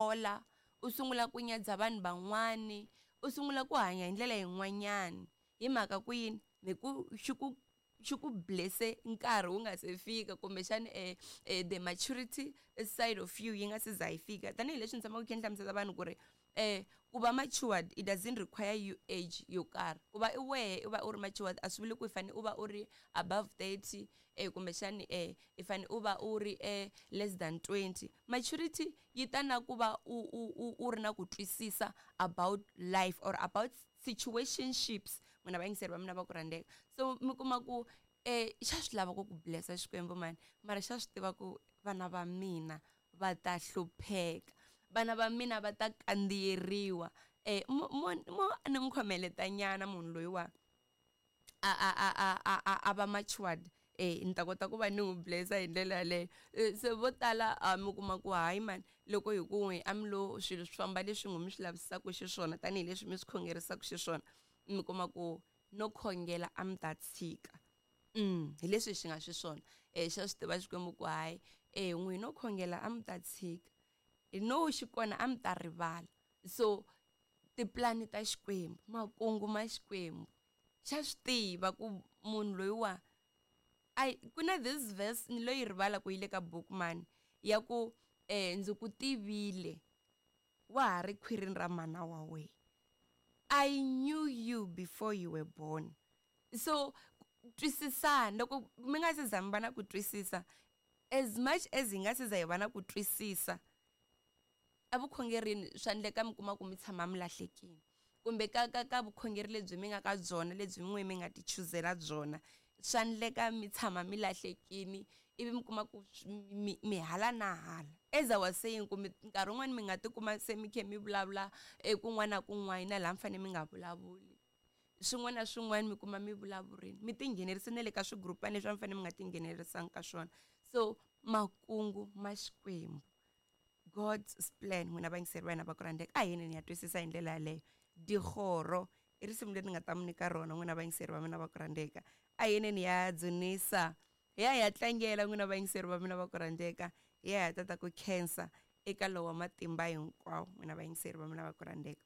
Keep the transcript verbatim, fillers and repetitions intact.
Hola u sungula ku nyadza vanhu van'wani, u sungula ku hanya hi ndlela yin'wanyani. Hi mhaka ku yini? Hi ku xi ku xi ku bless-e nkarhi wu nga se fika, kumbexani eh, eh, the maturity side of you yi nga se za yi fika. Tanihileswi ni tshamaka khe ni hlamusela vanhu ku ri eh ku va matured, it doesn't require you age yo karhi. Ku va i wehe u va u ri matured a swi vuli ku i fanele u va u ri above thirty, eh kumbexani eh i fanele u va u ri eh less than twenty. Maturity yi ta na ku va u u u u ri na ku twisisa about life or about situationships. N'wina vayingiseri va mina va ku rhandzeka, so mi kuma ku eh xa swi lava ku ku blessa Xikwembu mani, mara xa swi tiva ku vana va mina va ta hlupheka, vana va mina va ta kandziyeriwa. eh mo mo mo ni n'wi khomeleta nyana munhu loyiwa a a a a a a a va matured, eh ni ta kota ku va ni n'wi blessa hi ndlela yaleyo. Se vo tala mi kuma ku hayi mani, loko hi ku n'wi a mi lo swilo swi famba leswi n'wi mi swi lavisaka xiswona, tanihileswi mi swi khongerisaka xiswona, mi kuma ku no khongela a mi ta tshika. Mm hi leswi xi nga xiswona. eh xa swi tiva Xikwembu ku hayi, eh n'wi no khongela a mi ta tshika, no xi kona a mi ta rivala. So tipulani ta Xikwembu, makungu ma Xikwembu, xa swi tiva ku munhu loyiwa ai ku na this verse ni loyi rivala ku yi le ka book mani, ya ku eh ndzi ku tivile wa ha ri khwirini ra mana wa wena, I knew you before you were born. So twisisana, loko mi nga se za mi va na ku twisisa, as much as hi nga se za hi va na ku twisisa evukhongerini, swa endleka mi kuma ku mi tshama mi lahlekile, kumbe ka ka ka vukhongeri lebyi mi nga ka byona, lebyi n'we mi nga ti chuzela byona, swa endleka mi tshama mi lahlekile, ivi mi kuma ku mi mi hala na hala. As I was saying, ku mi nkarhi wun'wani mi nga tikuma se mi khe mi vulavula ekun'wana na kun'wana na laha mi fanele mi nga vulavuli, swin'wana na swin'wana mi kuma mi vulavurini, mi tinghenelerisa na le ka swigurupani leswi a mi fanele mi nga tinghenelerisanga ka swona. So makungu ma Xikwembu, God's plan, n'wina vayingiseri va hina va ku rhandzeka, a hi yini ni ya twisisa hi ndlela yaleyo. Digoro i risimu leri ni nga ta mi nyika rona n'wina vayingiseri va mina va ku rhandzeka. A hi yini ni ya dzunisa, hi ya hi ya tlangela n'wina vayingiseri va mina va ku rhandzeka, hi ya hi ya tata ku khensa eka lowa matimba hinkwawo n'wina vayingiseri va mina va ku rhandzeka.